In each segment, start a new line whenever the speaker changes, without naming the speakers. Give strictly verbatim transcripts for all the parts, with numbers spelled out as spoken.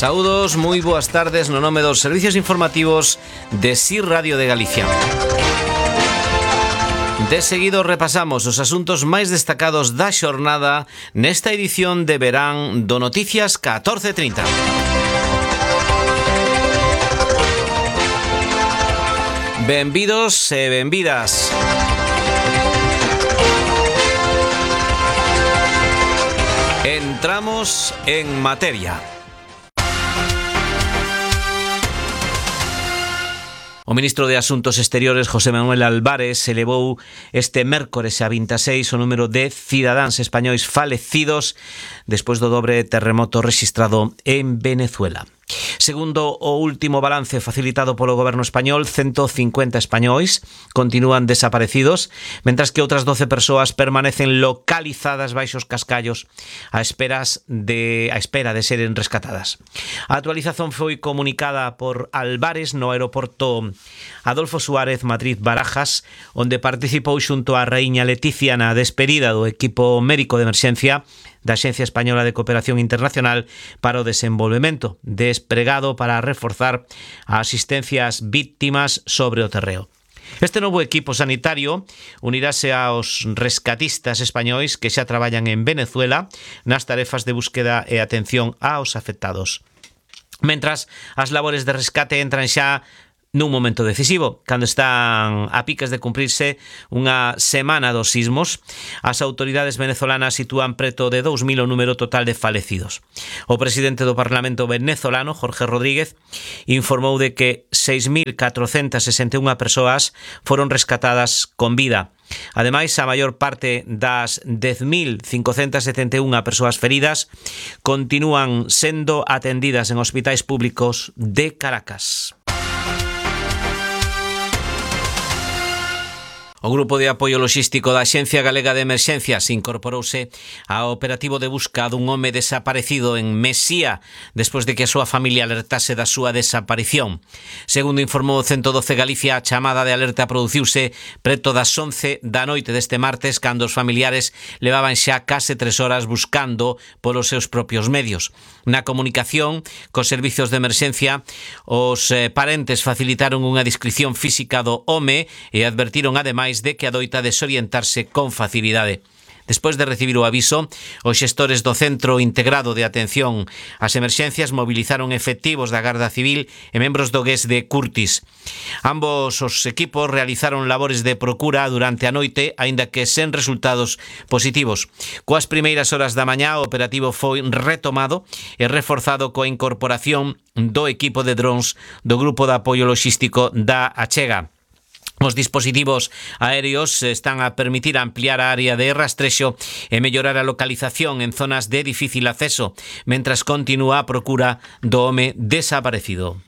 Saúdos, moi boas tardes no nome dos servicios informativos de S I Radio de Galicia. De seguido repasamos os asuntos máis destacados da xornada nesta edición de verán do Noticias catorce trinta. Benvidos e benvidas. Entramos en materia. O ministro de Asuntos Exteriores, José Manuel Álvarez, elevou este mércores a vinte e seis o número de cidadáns españois falecidos despois do dobre terremoto rexistrado en Venezuela. Segundo o último balance facilitado polo goberno español, ciento cincuenta españois continúan desaparecidos, mentras que outras doce persoas permanecen localizadas baixo os cascallos a esperas de a espera de seren rescatadas. A actualización foi comunicada por Álvarez no aeroporto Adolfo Suárez Madrid Barajas, onde participou xunto á raíña Leticia na despedida do equipo médico de emerxencia da Axencia Española de Cooperación Internacional para o Desenvolvemento, despregado para reforzar a asistencia ás víctimas sobre o terreo. Este novo equipo sanitario unirase aos rescatistas españois que xa traballan en Venezuela nas tarefas de búsqueda e atención aos afectados. Mentras, as labores de rescate entran xa nun momento decisivo, cando están a piques de cumprirse unha semana dos sismos. As autoridades venezolanas sitúan preto de dous mil o número total de falecidos. O presidente do Parlamento venezolano, Jorge Rodríguez, informou de que seis mil catrocentas sesenta e unha persoas foron rescatadas con vida. Ademais, a maior parte das dez mil cincocentas setenta e unha persoas feridas continúan sendo atendidas en hospitais públicos de Caracas. O Grupo de Apoio Loxístico da Axencia Galega de Emerxencias incorporouse ao operativo de busca dun home desaparecido en Mesía despois de que a súa familia alertase da súa desaparición. Segundo informou o ciento doce Galicia, a chamada de alerta produciuse preto das once da noite deste martes, cando os familiares levaban xa case tres horas buscando polos seus propios medios. Na comunicación cos servizos de emerxencia, os eh, parentes facilitaron unha descripción física do home e advertiron ademais de que adoita desorientarse con facilidade. Despois de recibir o aviso, os xestores do Centro Integrado de Atención ás Emerxencias mobilizaron efectivos da Garda Civil e membros do G E S de Curtis. Ambos os equipos realizaron labores de procura durante a noite, aínda que sen resultados positivos. Coas primeiras horas da mañá, o operativo foi retomado e reforzado coa incorporación do equipo de drons do Grupo de Apoio Loxístico da Achega. Os dispositivos aéreos están a permitir ampliar a área de rastrexo e mellorar a localización en zonas de difícil acceso, mentras continúa a procura do home desaparecido.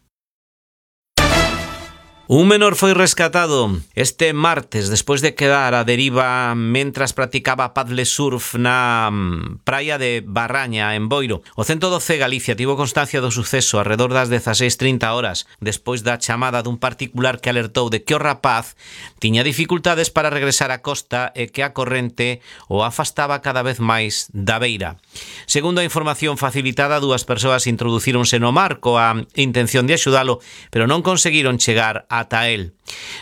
Un menor foi rescatado este martes despois de quedar a deriva mentras practicaba paddle surf na praia de Barraña, en Boiro. O ciento doce Galicia tivo constancia do suceso arredor das dezaseis trinta horas despois da chamada dun particular que alertou de que o rapaz tiña dificultades para regresar á costa e que a corrente o afastaba cada vez máis da beira. Segundo a información facilitada, dúas persoas introducíronse no mar coa intención de axudalo, pero non conseguiron chegar ata el.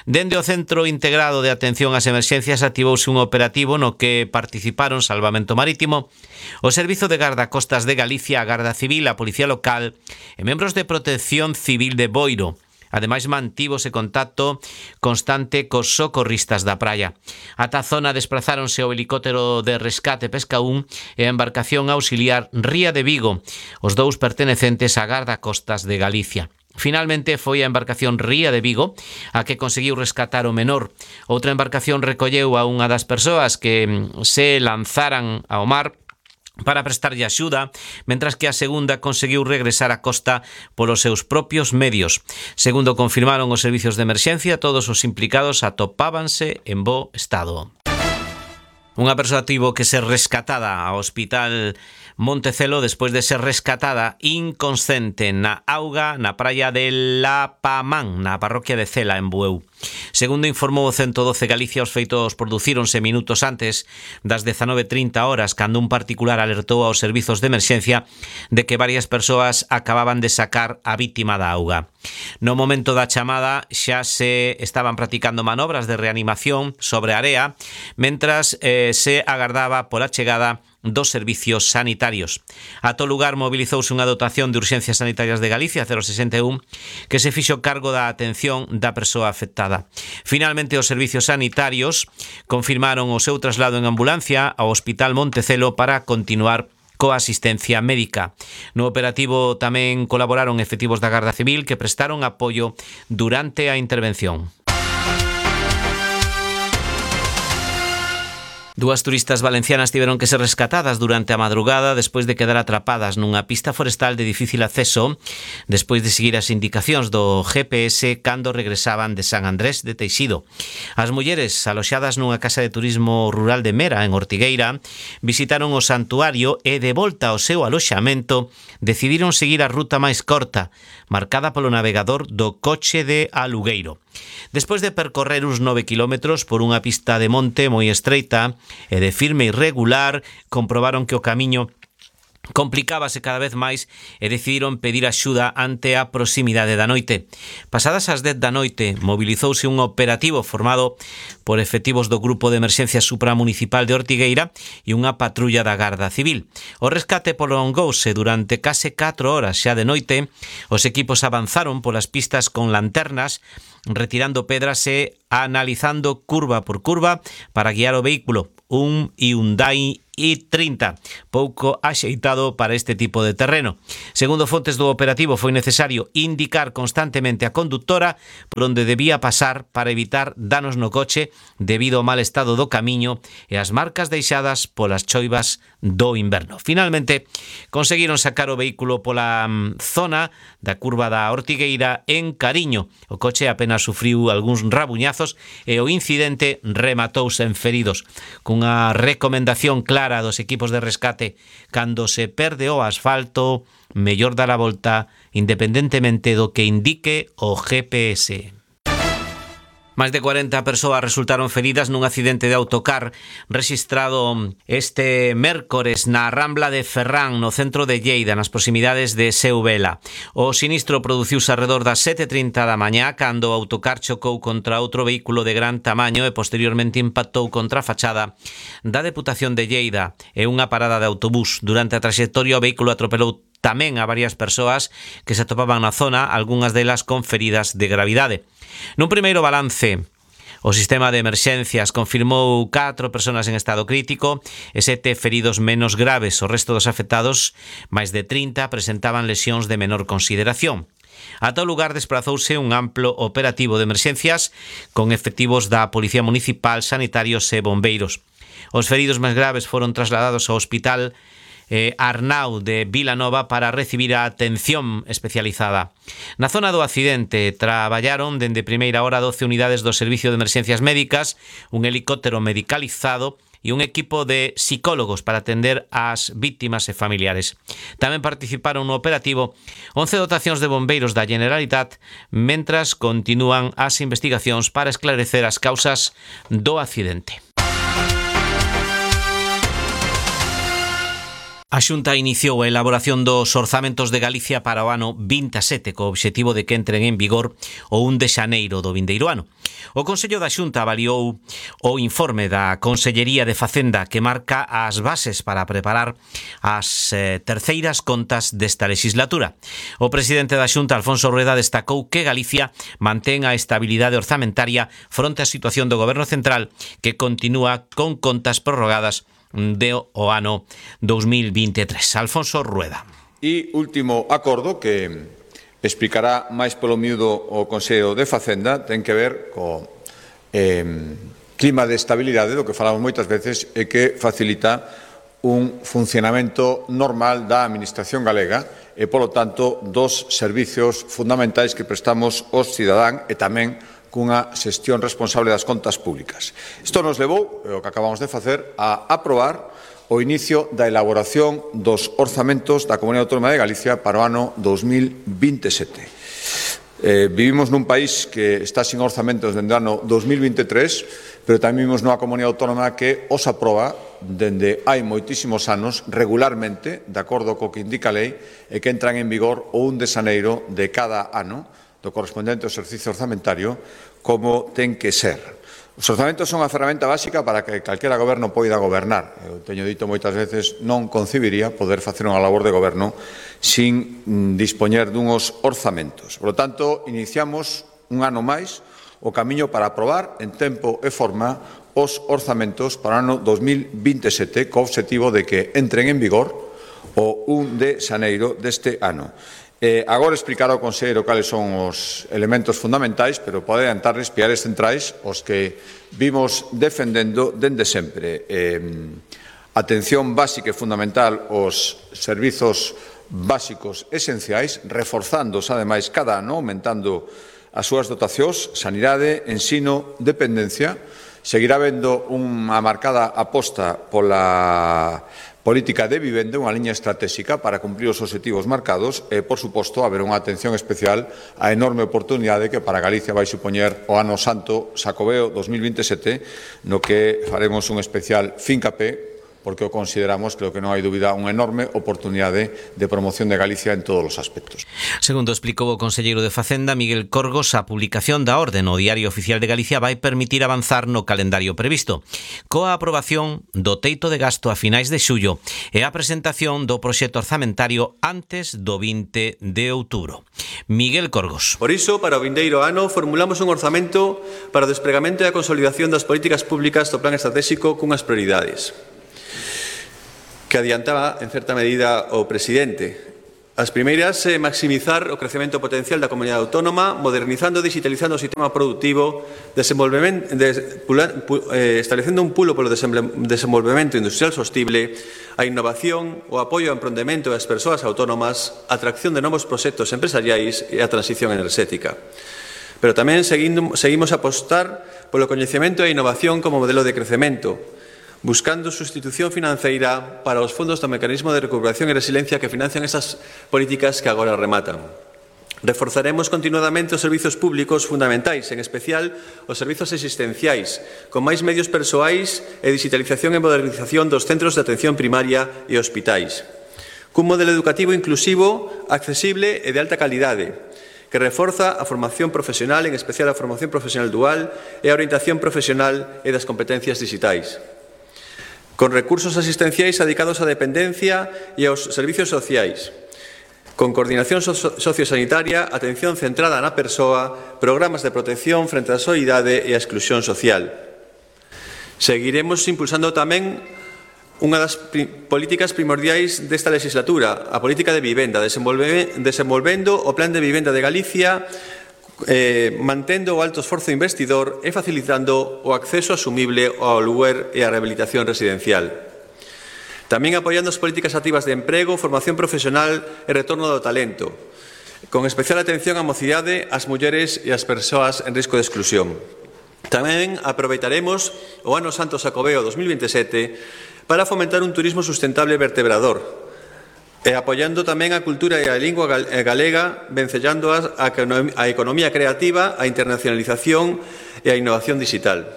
Dende o Centro Integrado de Atención ás Emerxencias activouse un operativo no que participaron Salvamento Marítimo, o Servizo de Gardacostas de Galicia, a Garda Civil, a Policía Local e membros de Protección Civil de Boiro. Ademais, mantívose contacto constante cos socorristas da praia. Ata a zona desprazáronse o helicóptero de rescate Pescaún e a embarcación auxiliar Ría de Vigo, os dous pertenecentes á Gardacostas de Galicia. Finalmente foi a embarcación Ría de Vigo a que conseguiu rescatar o menor. Outra embarcación recolleu a unha das persoas que se lanzaran ao mar para prestarlle axuda, mentras que a segunda conseguiu regresar á costa polos seus propios medios. Segundo confirmaron os servizos de emerxencia, todos os implicados atopábanse en bo estado. Unha persoa tivo que ser rescatada ao hospital Montecelo despois de ser rescatada inconsciente na auga na praia de La Pamán, na parroquia de Cela, en Bueu. Segundo informou o ciento doce Galicia, os feitos producíronse minutos antes das dezanove e trinta horas, cando un particular alertou aos servizos de emerxencia de que varias persoas acababan de sacar a vítima da auga. No momento da chamada xa se estaban practicando manobras de reanimación sobre a area, mentras eh, se agardaba pola chegada dos servicios sanitarios. A todo lugar mobilizouse unha dotación de urxencias sanitarias de Galicia cero sesenta e un que se fixo cargo da atención da persoa afectada. Finalmente, os servicios sanitarios confirmaron o seu traslado en ambulancia ao Hospital Montecelo para continuar coa asistencia médica. No operativo tamén colaboraron efectivos da Garda Civil que prestaron apoio durante a intervención. Dúas turistas valencianas tiveron que ser rescatadas durante a madrugada despois de quedar atrapadas nunha pista forestal de difícil acceso despois de seguir as indicacións do G P S cando regresaban de San Andrés de Teixido. As mulleres, aloxadas nunha casa de turismo rural de Mera, en Ortigueira, visitaron o santuario e, de volta ao seu aloxamento, decidiron seguir a ruta máis corta, marcada polo navegador do coche de Alugueiro. Despois de percorrer uns nove quilómetros por unha pista de monte moi estreita e de firme irregular, comprobaron que o camiño complicábase cada vez máis e decidiron pedir axuda ante a proximidade da noite. Pasadas as dez da noite, mobilizouse un operativo formado por efectivos do Grupo de Emerxencia Supramunicipal de Ortigueira e unha patrulla da Garda Civil. O rescate prolongouse durante case catro horas xa de noite. Os equipos avanzaron polas pistas con lanternas, retirando pedras e analizando curva por curva para guiar o vehículo, un Hyundai i trinta, pouco axeitado para este tipo de terreno. Segundo fontes do operativo, foi necesario indicar constantemente a conductora por onde debía pasar para evitar danos no coche debido ao mal estado do camiño e as marcas deixadas polas choivas do inverno. Finalmente, conseguiron sacar o vehículo pola zona da curva da Ortigueira en Cariño. O coche apenas sufriu algúns rabuñazos e o incidente rematouse en feridos, cunha recomendación clara dos equipos de rescate: cando se perde o asfalto, mellor dar a volta independentemente do que indique o G P S. Máis de cuarenta persoas resultaron feridas nun accidente de autocar rexistrado este mércores na Rambla de Ferrán, no centro de Lleida, nas proximidades de Seuvela. O sinistro produciuse arredor das sete e trinta da mañá, cando o autocar chocou contra outro vehículo de gran tamaño e posteriormente impactou contra a fachada da Deputación de Lleida e unha parada de autobús. Durante a traxectoria, o vehículo atropelou tamén a varias persoas que se atopaban na zona, algunhas delas con feridas de gravidade. Nun primeiro balance, o sistema de emerxencias confirmou catro persoas en estado crítico e sete feridos menos graves. O resto dos afectados, máis de trinta, presentaban lesións de menor consideración. A todo lugar desprazouse un amplo operativo de emerxencias con efectivos da Policía Municipal, sanitarios e bombeiros. Os feridos máis graves foron trasladados ao Hospital Eh, Arnau de Vilanova para recibir a atención especializada. Na zona do accidente traballaron dende primeira hora doce unidades do Servicio de Emerxencias Médicas, un helicóptero medicalizado e un equipo de psicólogos para atender ás vítimas e familiares. Tamén participaron no operativo once dotacións de bombeiros da Generalitat, mentras continúan as investigacións para esclarecer as causas do accidente. A Xunta iniciou a elaboración dos orzamentos de Galicia para o ano vinte e sete co obxectivo de que entren en vigor o un de xaneiro do vindeiro ano. O Consello da Xunta avaliou o informe da Consellería de Facenda que marca as bases para preparar as eh, terceiras contas desta legislatura. O presidente da Xunta, Alfonso Rueda, destacou que Galicia mantén a estabilidade orzamentaria fronte á situación do Goberno Central, que continúa con contas prorrogadas de o ano dos mil vinte e tres. Alfonso Rueda.
E último acordo que explicará máis polo miúdo o Consello de Facenda ten que ver co eh, clima de estabilidade do que falamos moitas veces e que facilita un funcionamento normal da Administración galega e, polo tanto, dos servicios fundamentais que prestamos aos cidadáns e tamén cunha xestión responsable das contas públicas. Isto nos levou, o que acabamos de facer, a aprobar o inicio da elaboración dos orzamentos da Comunidade Autónoma de Galicia para o ano dos mil vinte e sete. Eh, vivimos nun país que está sin orzamentos dende o ano dos mil vinte e tres, pero tamén vivimos nunha comunidade autónoma que os aproba dende hai moitísimos anos regularmente, de acordo co que indica a lei, e que entran en vigor o un de xaneiro de cada ano do correspondente ao exercicio orzamentario, como ten que ser. Os orzamentos son a ferramenta básica para que calquera goberno poida gobernar. Eu teño dito moitas veces, non concibiría poder facer unha labor de goberno sin mm, dispoñer dunhos orzamentos. Por lo tanto, iniciamos un ano máis o camiño para aprobar en tempo e forma os orzamentos para o ano dos mil vinte e sete, co obxectivo de que entren en vigor o un de xaneiro deste ano. Eh, agora explicará o conselleiro cales son os elementos fundamentais, pero pode adiantarles piares centrais os que vimos defendendo dende sempre. Eh, atención básica e fundamental aos servizos básicos esenciais, reforzándose, ademais, cada ano, aumentando as súas dotacións, sanidade, ensino, dependencia. Seguirá habendo unha marcada aposta pola política de vivenda, unha liña estratégica para cumprir os obxectivos marcados e, por suposto, haber unha atención especial á enorme oportunidade que para Galicia vai supoñer o Ano Santo Xacobeo dos mil vinte e sete, no que faremos un especial fincapé, porque o consideramos, creo que non hai dúbida, unha enorme oportunidade de promoción de Galicia en todos os aspectos.
Segundo explicou o conselleiro de Facenda, Miguel Corgos, a publicación da orde no Diario Oficial de Galicia vai permitir avanzar no calendario previsto, coa aprobación do teito de gasto a finais de xullo e a presentación do proxecto orzamentario antes do vinte de outubro. Miguel Corgos.
Por iso, para o vindeiro ano, formulamos un orzamento para o despregamento e a consolidación das políticas públicas do plan estratégico cunhas prioridades que adiantaba, en certa medida, o presidente. As primeiras, eh, maximizar o crecemento potencial da comunidade autónoma, modernizando e digitalizando o sistema productivo, desenvolvemento, de, eh, establecendo un pulo polo desenvolvemento industrial sostible, a innovación, o apoio ao emprendemento das persoas autónomas, a atracción de novos proxectos empresariais e a transición enerxética. Pero tamén seguindo, seguimos a apostar polo coñecemento e a innovación como modelo de crecemento, buscando sustitución financeira para os fondos do Mecanismo de Recuperación e Resiliencia que financian esas políticas que agora rematan. Reforzaremos continuadamente os servizos públicos fundamentais, en especial os servizos existenciais, con máis medios persoais e digitalización e modernización dos centros de atención primaria e hospitais. Cun modelo educativo inclusivo, accesible e de alta calidade, que reforza a formación profesional, en especial a formación profesional dual e a orientación profesional e das competencias digitais, con recursos asistenciais dedicados á dependencia e aos servicios sociais, con coordinación sociosanitaria, atención centrada na persoa, programas de protección frente á soidade e á exclusión social. Seguiremos impulsando tamén unha das políticas primordiais desta legislatura, a política de vivenda, desenvolvendo o Plan de Vivenda de Galicia, Eh, mantendo o alto esforzo investidor e facilitando o acceso asumible ao aluguer e a rehabilitación residencial. Tamén apoiando as políticas activas de emprego, formación profesional e retorno do talento, con especial atención á mocidade, ás mulleres e ás persoas en risco de exclusión. Tamén aproveitaremos o Ano Santo Xacobeo dos mil vinte e sete para fomentar un turismo sustentable e vertebrador, e apoiando tamén a cultura e a lingua galega, vencellando a, a economía creativa, a internacionalización e a innovación digital.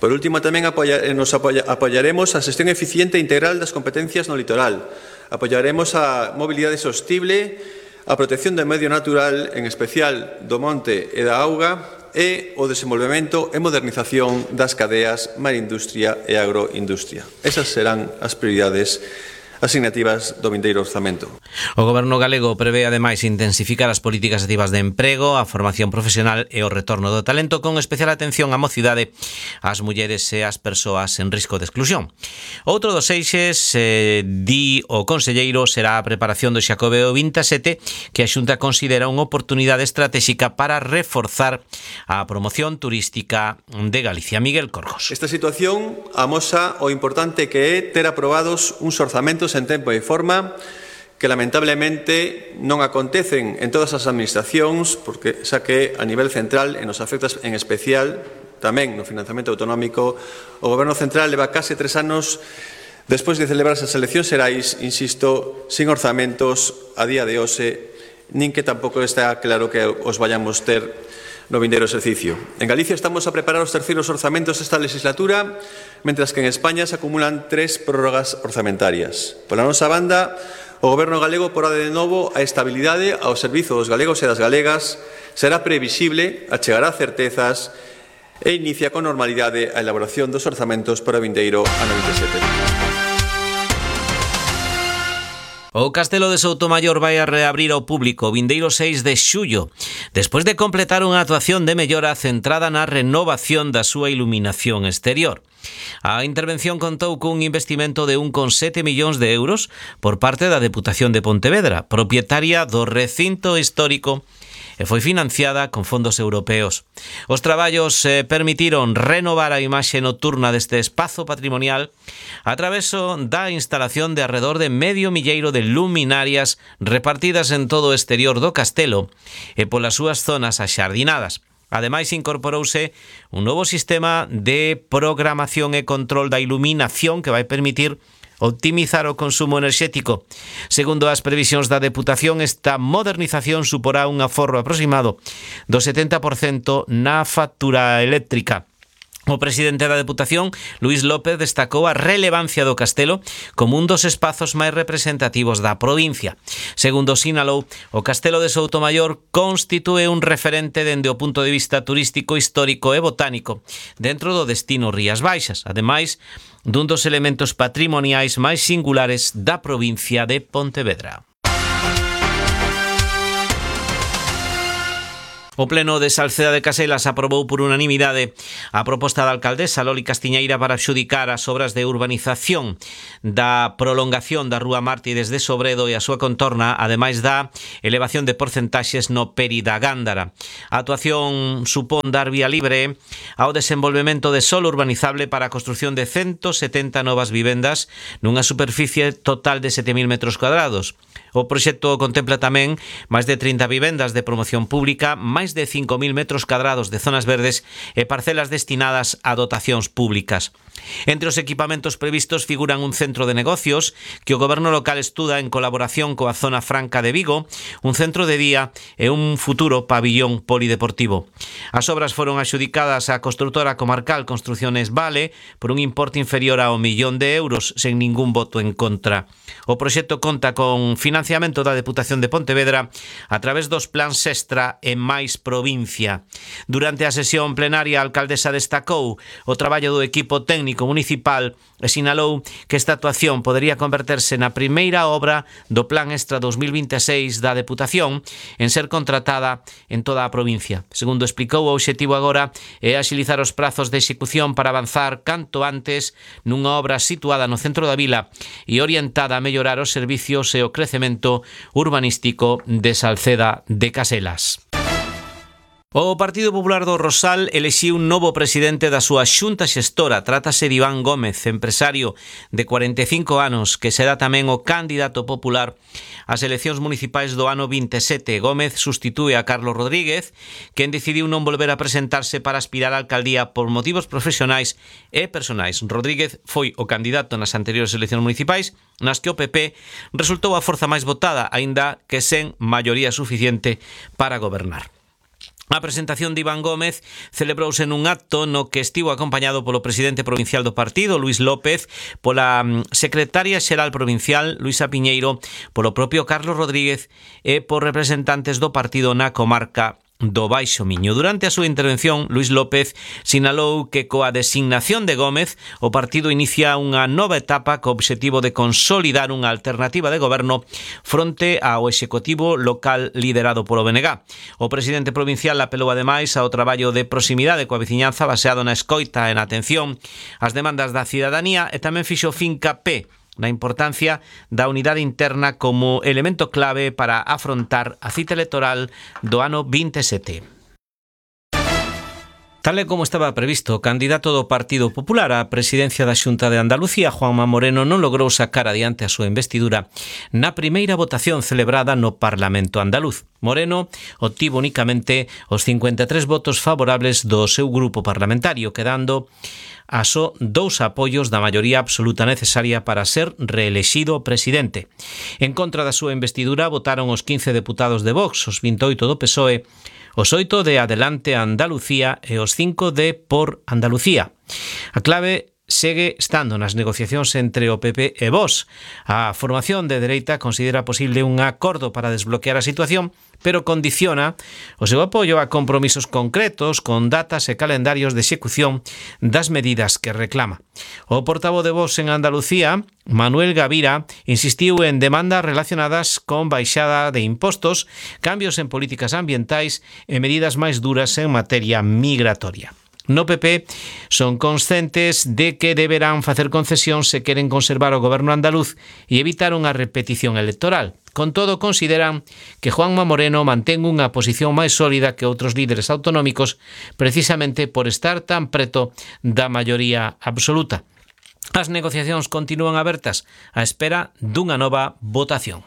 Por último, tamén apoya, nos apoya, apoyaremos a xestión eficiente e integral das competencias no litoral. Apoyaremos a mobilidade sostible, a protección do medio natural, en especial do monte e da auga, e o desenvolvemento e modernización das cadeas marindustria e agroindustria. Esas serán as prioridades asignativas do vindeiro orzamento.
O Goberno galego prevé ademais intensificar as políticas activas de emprego, a formación profesional e o retorno do talento, con especial atención á mocidade, ás mulleres e ás persoas en risco de exclusión. Outro dos eixes, eh, di o conselleiro, será a preparación do Xacobeo vinte e sete, que a Xunta considera unha oportunidade estratégica para reforzar a promoción turística de Galicia. Miguel Corgos.
Esta situación amosa o importante que é ter aprobados uns orzamentos en tempo e forma que lamentablemente non acontecen en todas as administracións, porque xa que a nivel central e nos afecta en especial tamén no financiamento autonómico, o Goberno Central leva case tres anos despois de celebrarse as eleccións xerais, insisto, sin orzamentos a día de hoxe, nin que tampouco está claro que os vayamos ter no vindeiro exercicio. En Galicia estamos a preparar os terceiros orzamentos esta legislatura, mentras que en España se acumulan tres prórrogas orzamentarias. Pola nosa banda, o Goberno galego porá de novo a estabilidade ao servizo dos galegos e das galegas, será previsible, achegará certezas e inicia con normalidade a elaboración dos orzamentos para o vindeiro ano vinte e sete.
O Castelo de Soutomaior vai a reabrir ao público o vindeiro seis de xullo, despois de completar unha actuación de mellora centrada na renovación da súa iluminación exterior. A intervención contou cun investimento de un coma sete millóns de euros por parte da Deputación de Pontevedra, propietaria do recinto histórico, e foi financiada con fondos europeos. Os traballos eh, permitiron renovar a imaxe nocturna deste espazo patrimonial a traveso da instalación de alrededor de medio milleiro de luminarias repartidas en todo o exterior do castelo e polas súas zonas axardinadas. Ademais, incorporouse un novo sistema de programación e control da iluminación que vai permitir optimizar o consumo enerxético. Segundo as previsións da Deputación, esta modernización suporá un aforro aproximado do setenta por cento na factura eléctrica. O presidente da Deputación, Luís López, destacou a relevancia do castelo como un dos espazos máis representativos da provincia. Segundo sinalou, o Castelo de Soutomaior constitúe un referente dende o punto de vista turístico, histórico e botánico dentro do destino Rías Baixas, ademais dun dos elementos patrimoniais máis singulares da provincia de Pontevedra. O Pleno de Salceda de Caselas aprobou por unanimidade a proposta da alcaldesa Loli Castiñeira para adxudicar as obras de urbanización da prolongación da Rúa Mártires de Sobredo e a súa contorna, ademais da elevación de porcentaxes no Peri da Gándara. A actuación supón dar vía libre ao desenvolvemento de solo urbanizable para a construción de ciento setenta novas vivendas nunha superficie total de sete mil metros cuadrados. O proxecto contempla tamén máis de trinta vivendas de promoción pública, máis de cinco mil metros cadrados de zonas verdes e parcelas destinadas a dotacións públicas. Entre os equipamentos previstos figuran un centro de negocios que o goberno local estuda en colaboración coa Zona Franca de Vigo, un centro de día e un futuro pabillón polideportivo. As obras foron adxudicadas á construtora comarcal Construcciones Vale por un importe inferior ao millón de euros sen ningún voto en contra. O proxecto conta con financiamento da Deputación de Pontevedra a través dos plans Extra e máis provincia. Durante a sesión plenaria, a alcaldesa destacou o traballo do equipo técnico municipal e sinalou que esta actuación podería converterse na primeira obra do Plan Extra dos mil vinte e seis da Deputación en ser contratada en toda a provincia. Segundo explicou, o obxectivo agora é axilizar os prazos de execución para avanzar canto antes nunha obra situada no centro da vila e orientada a mellorar os servicios e o crecemento urbanístico de Salceda de Caselas. O Partido Popular do Rosal elixiu un novo presidente da súa xunta xestora. Trátase de Iván Gómez, empresario de cuarenta e cinco anos, que será tamén o candidato popular ás eleccións municipais do ano vinte e sete. Gómez sustitúe a Carlos Rodríguez, quen decidiu non volver a presentarse para aspirar á alcaldía por motivos profesionais e personais. Rodríguez foi o candidato nas anteriores eleccións municipais, nas que o P P resultou a forza máis votada, aínda que sen maioría suficiente para gobernar. A presentación de Iván Gómez celebrouse nun acto no que estivo acompañado polo presidente provincial do partido, Luís López, pola secretaria xeral provincial, Luisa Piñeiro, polo propio Carlos Rodríguez e por representantes do partido na comarca do Baixo Miño. Durante a súa intervención, Luís López sinalou que coa designación de Gómez o partido inicia unha nova etapa co obxectivo de consolidar unha alternativa de goberno fronte ao executivo local liderado polo B N G. O presidente provincial apelou ademais ao traballo de proximidade coa veciñanza baseado na escoita e na atención ás demandas da cidadanía e tamén fixo fincapé na importancia da unidade interna como elemento clave para afrontar a cita electoral do ano vinte e sete. Tal e como estaba previsto, o candidato do Partido Popular á presidencia da Xunta de Andalucía, Juanma Moreno, non logrou sacar adiante a súa investidura na primeira votación celebrada no Parlamento andaluz. Moreno obtivo únicamente os cincuenta e tres votos favorables do seu grupo parlamentario, quedando a só dous apoios da maioría absoluta necesaria para ser reelexido presidente. En contra da súa investidura votaron os quince deputados de Vox, os vinte e oito do P S O E, os oito de Adelante Andalucía e os cinco de Por Andalucía. A clave segue estando nas negociacións entre o P P e Vox. A formación de dereita considera posible un acordo para desbloquear a situación, pero condiciona o seu apoio a compromisos concretos con datas e calendarios de execución das medidas que reclama. O portavoz de Vox en Andalucía, Manuel Gavira, insistiu en demandas relacionadas con baixada de impostos, cambios en políticas ambientais e medidas máis duras en materia migratoria. No P P son conscientes de que deberán facer concesión se queren conservar o goberno andaluz e evitar unha repetición electoral. Con todo, consideran que Juanma Moreno mantén unha posición máis sólida que outros líderes autonómicos precisamente por estar tan preto da maioría absoluta. As negociacións continúan abertas á espera dunha nova votación.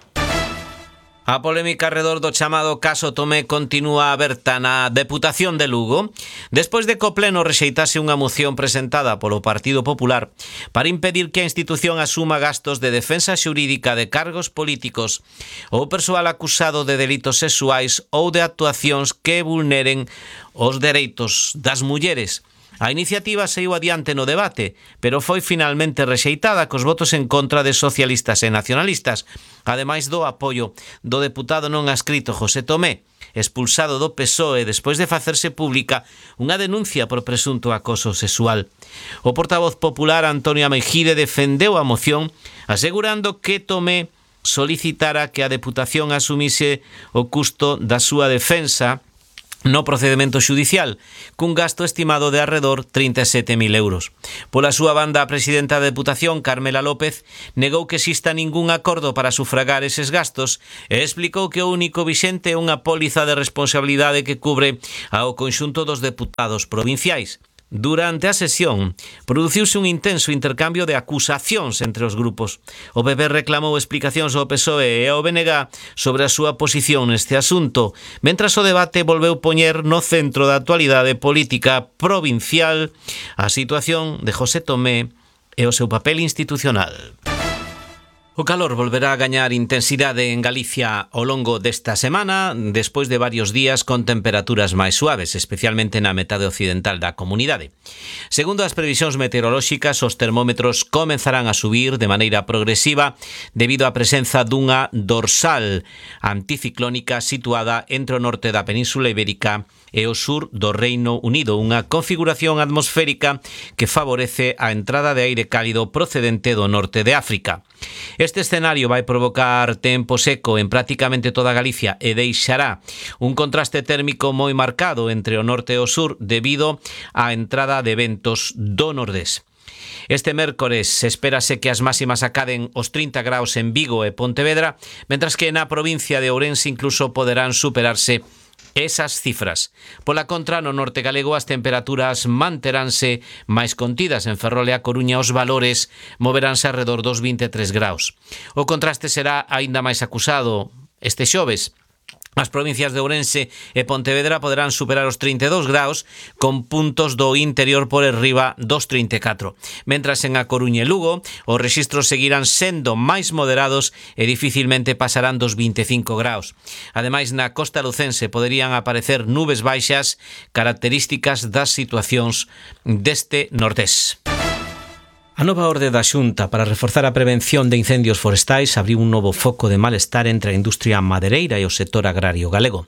A polémica arredor do chamado caso Tomé continúa aberta na Deputación de Lugo, despois de que o Pleno rexeitase unha moción presentada polo Partido Popular para impedir que a institución asuma gastos de defensa xurídica de cargos políticos ou persoal acusado de delitos sexuais ou de actuacións que vulneren os dereitos das mulleres. A iniciativa saiu adiante no debate, pero foi finalmente rexeitada cos votos en contra de socialistas e nacionalistas, ademais do apoio do deputado non adscrito José Tomé, expulsado do P S O E despois de facerse pública unha denuncia por presunto acoso sexual. O portavoz popular Antonio Mejide defendeu a moción, asegurando que Tomé solicitara que a Deputación asumise o custo da súa defensa no procedimento xudicial, cun gasto estimado de arredor trinta e sete mil euros. Pola súa banda, a presidenta da Deputación, Carmela López, negou que exista ningún acordo para sufragar eses gastos e explicou que o único vixente é unha póliza de responsabilidade que cubre ao conxunto dos deputados provinciais. Durante a sesión, produciuse un intenso intercambio de acusacións entre os grupos. O P P reclamou explicacións ao P S O E e ao B N G sobre a súa posición neste asunto, mentras o debate volveu poñer no centro da actualidade política provincial a situación de José Tomé e o seu papel institucional. O calor volverá a gañar intensidade en Galicia ao longo desta semana, despois de varios días con temperaturas máis suaves, especialmente na metade occidental da comunidade. Segundo as previsións meteorolóxicas, os termómetros comenzarán a subir de maneira progresiva debido á presenza dunha dorsal anticiclónica situada entre o norte da Península Ibérica e o sur do Reino Unido, unha configuración atmosférica que favorece a entrada de aire cálido procedente do norte de África. Este escenario vai provocar tempo seco en prácticamente toda Galicia e deixará un contraste térmico moi marcado entre o norte e o sur debido á entrada de ventos do nordés. Este mércores espérase que as máximas acaden os trinta graus en Vigo e Pontevedra, mentras que na provincia de Ourense incluso poderán superarse esas cifras. Pola contra, no norte galego as temperaturas manteránse máis contidas. En Ferrol e a Coruña os valores moveránse alrededor dos vinte e tres graus. O contraste será aínda máis acusado este xoves. As provincias de Ourense e Pontevedra poderán superar os trinta e dous graus, con puntos do interior por enriba dos trinta e catro. Mentras en A Coruña e Lugo, os rexistros seguirán sendo máis moderados e dificilmente pasarán dos vinte e cinco graus. Ademais, na costa lucense poderían aparecer nubes baixas características das situacións deste nordés. A nova orde da Xunta para reforzar a prevención de incendios forestais abriu un novo foco de malestar entre a industria madereira e o sector agrario galego.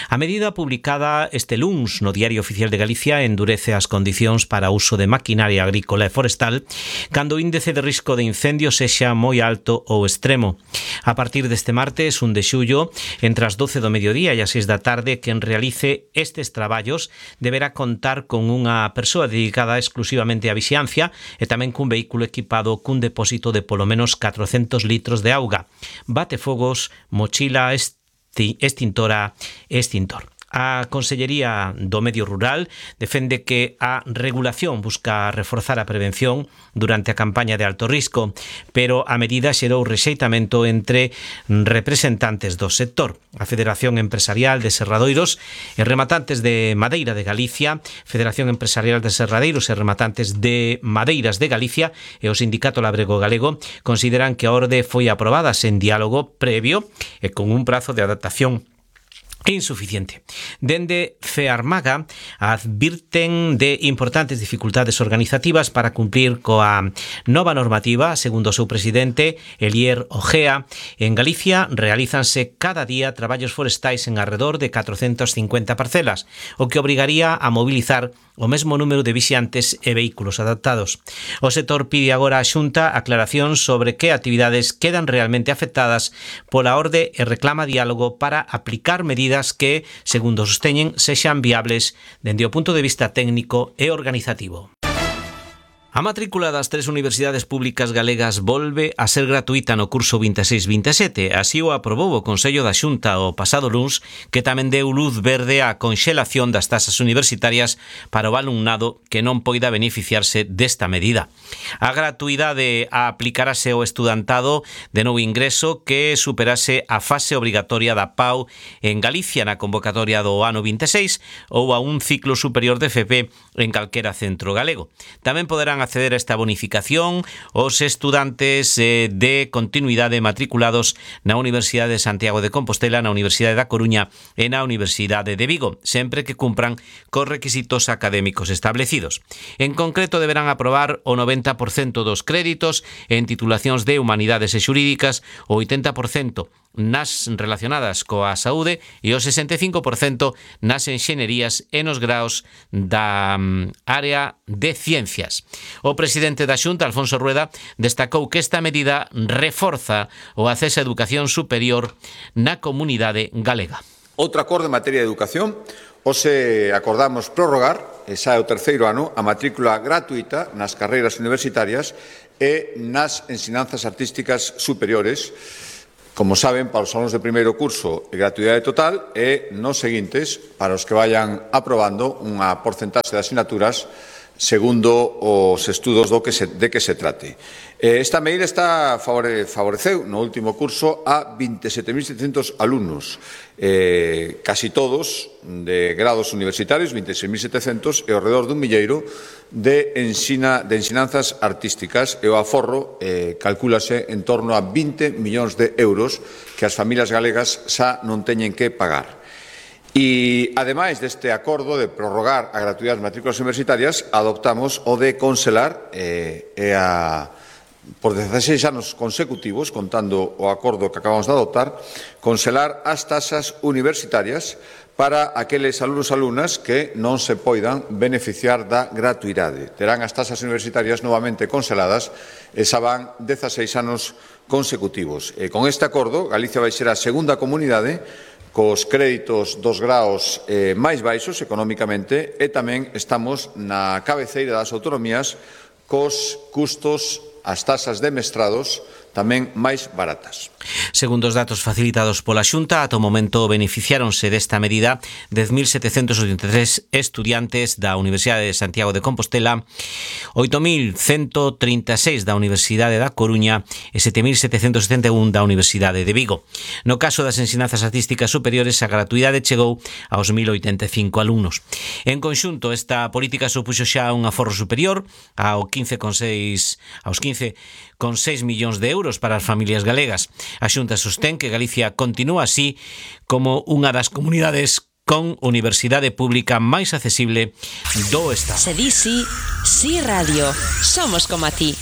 A medida publicada este luns no Diario Oficial de Galicia endurece as condicións para o uso de maquinaria agrícola e forestal cando o índice de risco de incendio sexa moi alto ou extremo. A partir deste martes, un de xullo, entre as doce do mediodía e as seis da tarde, quen realice estes traballos deberá contar con unha persoa dedicada exclusivamente á vixiancia e tamén cun vehículo equipado cun depósito de polo menos catrocentos litros de auga, batefogos, mochila, esti, extintora e extintor. A Consellería do Medio Rural defende que a regulación busca reforzar a prevención durante a campaña de alto risco, pero a medida xerou rexeitamento entre representantes do sector. A Federación Empresarial de Serradoiros e Rematantes de Madeira de Galicia, Federación Empresarial de Serradeiros e Rematantes de Madeiras de Galicia e o Sindicato Labrego Galego consideran que a orde foi aprobada sen diálogo previo e con un prazo de adaptación insuficiente. Dende FEARMAGA advirten de importantes dificultades organizativas para cumplir coa nova normativa. Segundo o seu presidente, Elier Ojea, en Galicia realízanse cada día traballos forestais en arredor de catrocentas cincuenta parcelas, o que obrigaría a mobilizar o mesmo número de vixiantes e vehículos adaptados. O sector pide agora á Xunta aclaración sobre que actividades quedan realmente afectadas pola orde e reclama diálogo para aplicar medidas que, segundo sosteñen, sexan viables dende o punto de vista técnico e organizativo. A matrícula das tres universidades públicas galegas volve a ser gratuita no curso vinte e seis vinte e sete. Así o aprobou o Consello da Xunta o pasado luns, que tamén deu luz verde á conxelación das tasas universitarias para o alumnado que non poida beneficiarse desta medida. A gratuidade aplicarase ao estudantado de novo ingreso que superase a fase obrigatoria da P A U en Galicia na convocatoria do ano vinte e seis ou a un ciclo superior de F P en calquera centro galego. Tamén poderán acceder a esta bonificación os estudantes eh, de continuidade matriculados na Universidade de Santiago de Compostela, na Universidade da Coruña e na Universidade de Vigo, sempre que cumpran cos requisitos académicos establecidos. En concreto, deberán aprobar o noventa por cento dos créditos en titulacións de humanidades e xurídicas, o oitenta por cento nas relacionadas coa saúde e o sesenta e cinco por cento nas enxeñerías e nos graos da um, área de ciencias. O presidente da Xunta, Alfonso Rueda, destacou que esta medida reforza o acceso á educación superior na comunidade galega.
Outro acordo en materia de educación, hoxe acordamos prorrogar, e xa é o terceiro ano, a matrícula gratuita nas carreiras universitarias e nas ensinanzas artísticas superiores. Como saben, para os alunos de primeiro curso, gratuidade total, e nos seguintes, para os que vayan aprobando unha porcentaxe de asignaturas segundo os estudos do que se, de que se trate. Esta medida está favore, favoreceu no último curso a vinte e sete mil setecentos alumnos, eh, casi todos de grados universitarios, vinte e seis mil setecentos, e ao redor dun milleiro de, ensina, de ensinanzas artísticas, e o aforro eh, calcúlase en torno a vinte millóns de euros que as familias galegas xa non teñen que pagar. E, ademais deste acordo de prorrogar a gratuidade das matrículas universitarias, adoptamos o de congelar eh, e a, por dezaseis anos consecutivos, contando o acordo que acabamos de adoptar, congelar as tasas universitarias para aqueles alumnos e alumnas que non se poidan beneficiar da gratuidade. Terán as tasas universitarias novamente congeladas e xa van dezaseis anos consecutivos. E con este acordo, Galicia vai ser a segunda comunidade cos créditos dos graos eh, máis baixos económicamente, e tamén estamos na cabeceira das autonomías cos custos, as tasas de mestrados tamén máis baratas.
Segundo os datos facilitados pola Xunta, ata o momento beneficiáronse desta medida dez mil setecentos oitenta e tres estudiantes da Universidade de Santiago de Compostela, oito mil ciento trinta e seis da Universidade da Coruña e sete mil setecentos setenta e un da Universidade de Vigo. No caso das ensinanzas artísticas superiores, a gratuidade chegou aos mil oitenta e cinco alumnos. En conxunto, esta política supuxo xa un aforro superior ao quince con seis aos quince con seis millóns de euros para as familias galegas. A Xunta sostén que Galicia continúa así como unha das comunidades con universidade pública máis accesible do Estado.
Se di sí, sí radio. Somos como a ti.